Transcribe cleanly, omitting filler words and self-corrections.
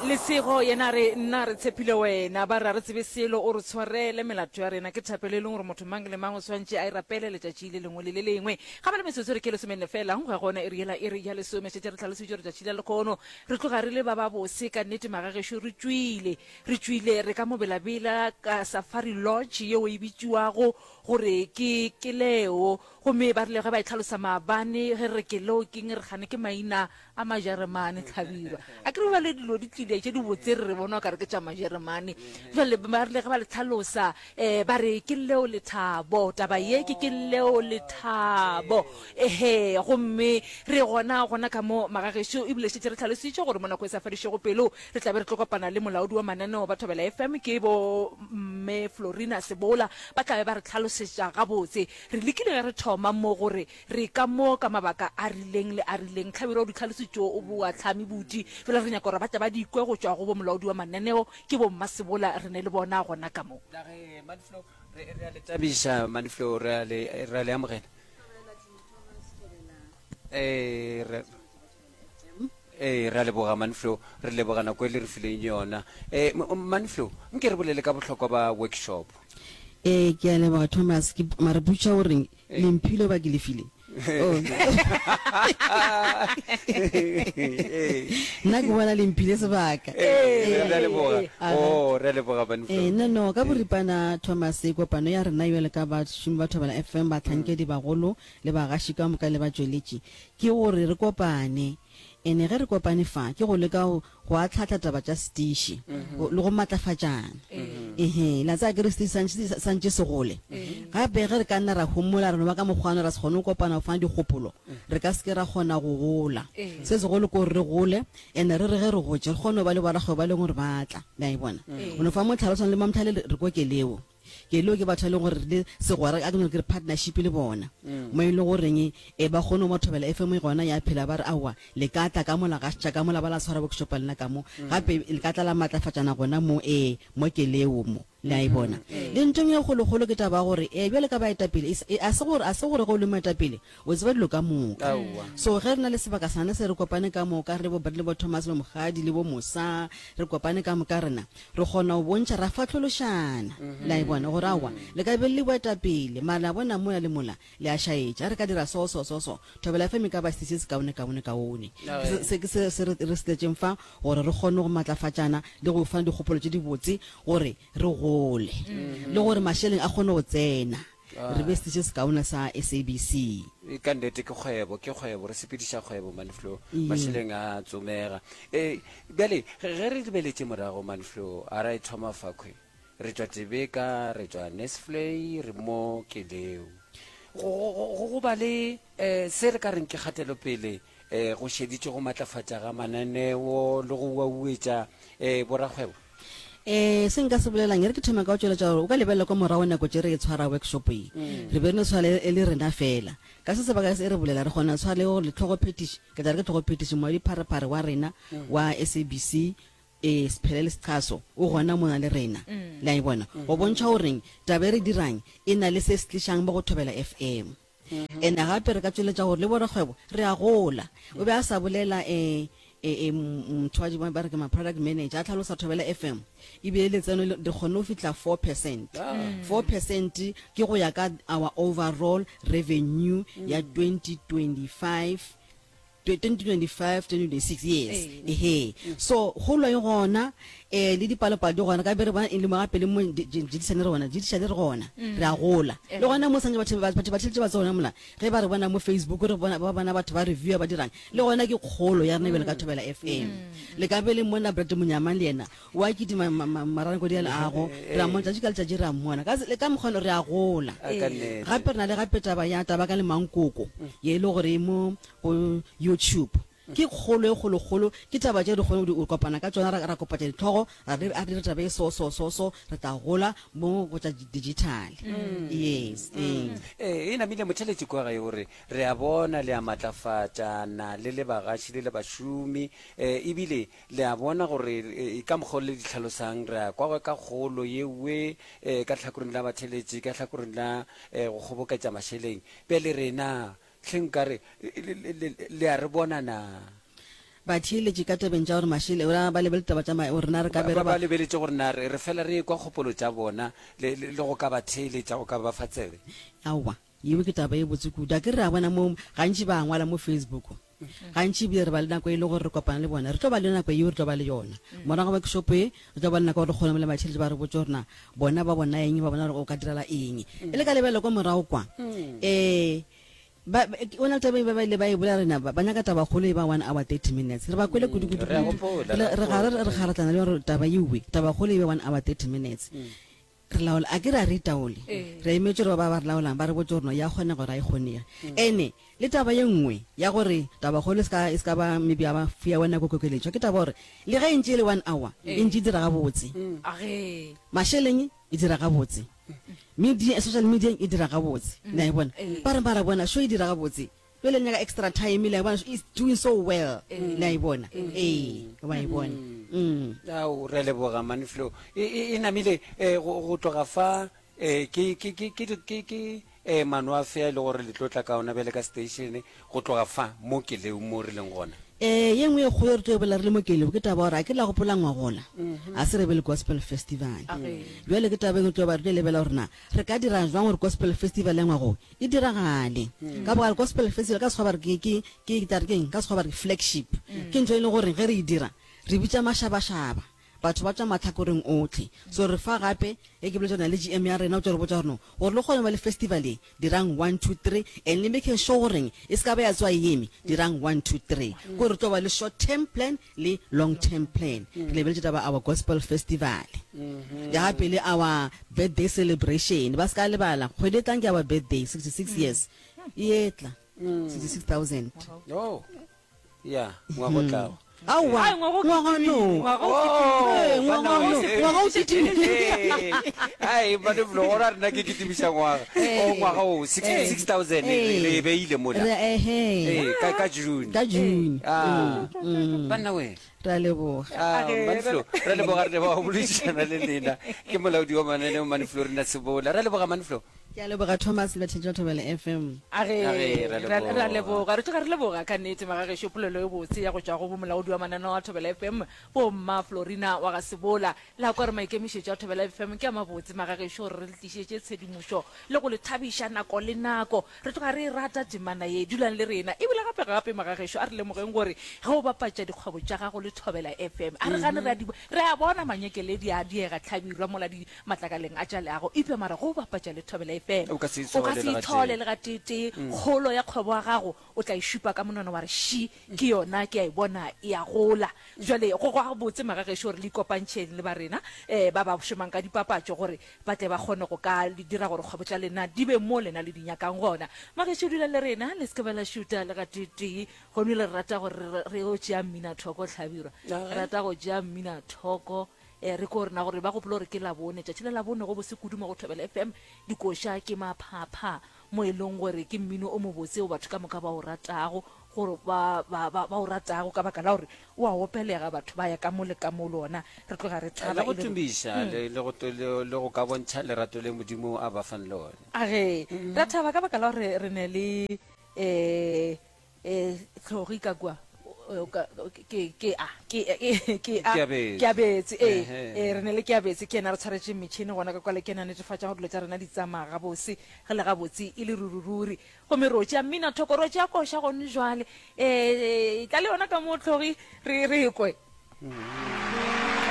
Lesego yena a re, Nna re tshepile wena. Ba re, A re tsebe selo, o re tshwarele melato ya rena. Ke thapelo e leng gore motho mang le mang o swantše a e rapele letšatši le lengwe le le lengwe. Ga ba le metsotso re ke lesomenne fela go ya gona iri yela iri ya lesome. Šetše re hlalositše gore tšatši la lekhono re tloga re le ba ba bose ka nnete magagešo re tšwile. Re tšwile re ka mo belabela ka Safari Lodge yeo e bitšwago gore ke Keleo. Gomme ba rile ge ba e hlalosa maabane ge re re Keleo keng re gane ke maina a Majeremane, Hlabirwa. A ke re bjale dilo di tlile tše dibotse re re bona o ka re ke tša Majeremane. Bjale ba rile ge ba le hlalosa um ba re ke leo lethabo, taba ye ke ke leo lethabo. Ehe, gomme re gona gona ka mo magagešo ebile šetše re hlalositše gore mo nako e sa fedišego pelo re tla be re tlo kopana le molaodi wa mananeo ba Thobela FM ke bo Mme Florina Sebola ba tla be ba re hlalosetša gabotse. Re lekile ge re thoma mo gore Re ka mo ka mabaka a rileng le a rileng. Hlabirwa o di tlhalositšo o boa tlhame buti. Fela re nyaka gore ba tle ba di kwe go tšwa go bo molaodi wa mananeo, ke bo Mmasebola re ne le bona gona ka mo. La ge Manflo, re, re a le tabiša Manflo, re a le, re a le amogela. Ee, re, ee, re a leboga Manflo, re leboga nako e le re fileng yona. Ee, Manflo, nke re bolele ka bohlokwa ba workshop. Ee, ke a leboga Thomas, ke, mara botša o reng, Le mphile goba ke le file? Oh. Nna ke bona le mphile sebaka. Ee, re a leboga. Oh, re a leboga Banflo. Eh, no no, ka boripana Thomas, kopano ya rena bjalo ka bašomi ba Thobela FM, bahlankedi bagolo le bagaši ka moka le batšweletši, ke gore re kopane. Ene ge re kopane fa, ke go leka go go ahlahla taba tša setiši le go matlafatšana. Ehe, la tseba akere setiši santše santše se gole. Gape ge re ka nna ra homola ra no ba ka mokgwa ra se kgone go kopana go fana dikgopolo, re ka se ke ra kgona go gola. Se segolo ke gore re gole, ene re re ge re gotše re kgone go ba le borakgwebo ba e leng gore ba tla. Le a e bona? O no fa mohlala, o swana le Mamthale re ko Keleo. Keleo ke batho ba e leng gore re le segwera, a ke no re ke re partnership le bona. Mo e le goreng e ba kgone go mo thobela FM e gona ya phela ba re aowa le ka tla ka mola gašetša ka mola ba la tshwara workshop le nna ka mo. Gape le ka tla la matlafatšana gona mo ee mo Keleo mo. Le a e bona? Le ntho e nngwe e kgolokgolo ke taba ya gore ee bjale ka baetapele e a se gore a se gore ge o le moetapele O tseba dilo ka moka. Aowa. So ge re na le sebaka sane se re kopane ka moka, re bo le bo Thomas le Mokgadi le bo Mosa, re kopane ka moka rena, re kgona go bontšha, ra fahlološana. Le a e bona? Gore aowa, le ka be le le boetapele, mara le a bona mola le mola, le a šaetša. Ge re ka dira so, so, so, so, Thobela FM e ka ba se se sekaone, kaone, kaone. Ke se, se ke se, se re, re se tletšeng fa, gore re kgone go matlafatšana le go fana dikgopolo tše dibotse, gore re gole, le gore mašeleng a kgone go tsena. Re be setiši se sekaone sa SABC. Ka nnete ke kgwebo, ke kgwebo, re sepediša kgwebo Manflo, mašeleng a tsomega. E, bjale ge re lebeletše morago Manflo, a ra e thoma fakhwe, re tšwa Tebeka, re tšwa Nesflay, re mo Keleo. Go, go, go, go ba le eh, se re ka reng ke kgatelopele eh, go šeditše go matlafatša ga mananeo le go uauetša eh, borakgwebo. Eh, se nka se bolelang, e re ke thome ka go tšweletša gore o ka lebelela kwa morago nako tše re e tshwara workshop ye, re be re no tshwara e le rena fela. Ka se sebaka se re bolela, re kgona go tshwara le gore tlhogophetiši, ke tla re ke tlhogophetiši, moadipharephare wa rena wa SABC, eh, Sphelele Schaso, o gona mona le rena. Le a e bona? Go bontšha goreng taba e re dirang e na le se se tlišang mo go Thobela FM. Ene gape re ka tšweletša gore le borakgwebo re a gola. O be a sa bolela e, e, e, motho wa ba re ke ma product manager a tlhalosa Thobela FM ebile letseno le re kgonne go fihla 4%. 4% ke go ya ka our overall revenue ya 2025 2025 2026 yes ehe so kgolo e gona eh le dipalopalo di gona ka be re bona e le mo gape le mo jedišane re gona jedišane re gona re a gola le gona mo santse batho batho ba tšheletse ba tsona mola ge ba re bona mo Facebook re bona ba bona batho ba review ba dirang le gona ke kgolo ya rena bjale ka Thobela FM le ka be le mona Brad Monyamang le yena wa kitima maranko di a leago re a mmona tšatši ka letšatši re a mmona ka le ka mokgwa re a gola gape re na le gape taba ya taba ka le mankoko ye e le gore e mo go YouTube ke kgolo e kgolokgolo ke taba tše re kgone go kopana ka tšona ra kopatša ditlhogo ra re a dire taba e so so so so re tla gola mo go tša digital yes ee Ee, e namile motheletši kwa gae o re, Re a bona le a matlafatšana le le bagaši le le bašomi, eh, ebile Le a bona gore e, ka mokgwa o le di hlalosang, re a kwa ka kgolo yewe e, ka tlhakoreng la batheletši, ka tlhakoreng la e, go kgoboketša mašeleng. Bjale rena, hleng nkare le, le, le, le a re bona na? Batheeletši ka tabeng tša gore mašele, o ra ba lebeletse taba tša ma, gore na re ka be Ba, re ba ba. lebeletše gore na re, re fela re ekwa kgopolo tša bona le, le, le go ka ba theeletša, go ka ba fa tsebe. Aowa, yeo ke taba ye botse kudu. Akere re a bona mo, gantši ba a ngwala mo Facebook. Gantši ebile re ba le nako e le gore re kopana le bona. Re tlo ba le nako yeo re tlo ba le yona. Morago ga workshop ye, re tlo ba le nako ya gore re kgone le batheeletši ba re botše gore na bona ba bona eng, ba bona gore o ka direla eng. E le ka lebelela kwa morago kwa, um Ba, ba, o na le taba e ba ba ile ba e bolela rena ba, ba nyaka tabakgolo e ba 1 hour 30 minutes. Re ba kwele kudu kudu Re a kudu. gopola, Re re a re ga re gopola. re kgaratlana le gore taba ewe, tabakgolo e be 1 hour 30 minutes. Re laola, a ke re a re itaole. Re emetše gore ba ba re laolang ba re botše gore no ya kgonega gore a e kgonege. Ene le taba ye nngwe ya gore tabakgolo e se ka e se ka ba maybe ya ba ya wa nako kokeletšwa ke taba gore le ge e ntše e le 1 hour e ntše e dira gabotse. Age. Mašeleng e dira gabotse. Media, social media e dira gabotse. Le a e bona? Ba re mara bona show e dira gabotse. Bjale le nyaka extra time le a bona is doing so well. Le a e bona? Ee, wa e bona. Mm. Ao, re a leboga Manflo. E, e, e namile eh, go, go tloga fa eh, ke, ke, ke, ke, ke, ke eh, mano a fe a e le gore le tlo tla ka ona bjale ka station go tloga fa mo Keleu mo re leng gona. Ee, ye nngwe ye kgolo e re tlo e bolela re le mo Kelebo ke taba ya gore a ke la gopola ngwagola a se re be le Gospel Festival. Bjale ke taba e nngwe tlo ba re tlo e lebelela gore na re ka dira jwang gore Gospel Festival ya ngwago e diragale. Ka bogare Gospel Festival ka Sekgowa ba re ke, ke, ke, ke tla re keng? Ka Sekgowa ba re ke flagship. Ke ntho e leng gore ge re e dira re bitša mašabašaba. Batho ba tšwa mahlakoreng ohle. So re fa gape, ge ke boletše gore na le GM ya rena o tlo re botša gore no, gore le kgone go ba le festival ye, dirang one, two, three, and le making sure goreng e se ka ba ya tsoga e eme, dirang one, two, three. Ke gore re tlo ba le short term plan le long term plan. Re lebeletše taba our gospel festival. Ya gape le our birthday celebration. Ba se ka lebala, kgwedi e tlang ke our birthday, 66 years. E etla, 66,000. Oh. Ya, ngwaga o tlago. Aowa, Ai, ngwaga o ngwaga kitimile, no. ngwaga o kitimile. Ee, ngwaga no, ngwaga o kitimile. Ai, bane blo gora rena ke kitimiša ngwaga. O ngwaga o 66000 re re e beile mola. Re ehe. Ee, ka ka June. Ka June. Ah. Banna we. Re a leboga. Ah, Manflo, re leboga re leboga go boledišana le lena. Ke molaodi wa mananeo Manflo Rina Sebola. Re leboga Manflo. Ke a leboga Thomas le batheetši ba Thobela FM. A re, A re, ra ra, ra leboga. leboga. Re tloga re leboga ka nnete magagešo polelo e botse ya go tšwa go bomolaodi wa mananeo a Thobela FM, bo Mma Florina wa ga Sebola. La kwa re maikemišetšo a Thobela FM ke a mabotse magagešo gore re le tlišetše tshedimošo le go le thabiša nako le nako. Re tloga re e rata temana ye. Dulang le rena. Ebile gape gape magagešo a re lemogeng gore ge o bapatša dikgwebo tša gago le Thobela FM, a re gane re a di, re a bona manyekeledi a diega hlabirwa mola di matlakaleng a tša leago, eupša mara go bapatša le Thobela FM, O ka se o ka ithole se le gatee. ithole le gateetee. Kgolo ya kgwebo ya gago o tla e šupa ka monwana wa re, Ši, ke yona, ke a e bona e a gola. Bjale go gabotse magagešo gore le ikopantšheng le ba rena um ba ba šomang ka dipapatšo gore ba tle ba kgone go ka le dira gore kgwebo tša lena di be mo lena le di nyakang gona. Magešo dulang le rena, le se ke ba la šuta le gateetee. Gomme le rata gore re, re yo tšea mminathoko, Hlabirwa. Re rata go tšea mminathoko. E, re ko rena gore ba gopole gore ke Labone, tšatši la Labone go bose kudu mo go Thobela FM. Dikoša ke maphapha mo e leng gore ke mmino o mobotse o batho ka moka ba o ratago, gore ba, ba, ba, ba o ratago ka baka la gore o a opelega, batho ba ya ka mo le ka mo le ona. Re tloga re Le thaba go e le gore. tumiša le, le go, le, le go ka bontšha lerato le Modimo a ba fang lona. A ge, ra thaba ka baka la gore re ne le, e, E, tlhogi ka kua ke ke a ke ke a ke abetse ee ee re ne le ke abetse ke yena re tshwaretše metšhini gona ka kwale ke yena netefatša gore dilo tša rena di tsamaya gabose ge le gabotse e le rurururi gomme ro tšea mmina thoko ro tšea koša gone jwale um tla le yona ka mo tlhogi re re kwe mm.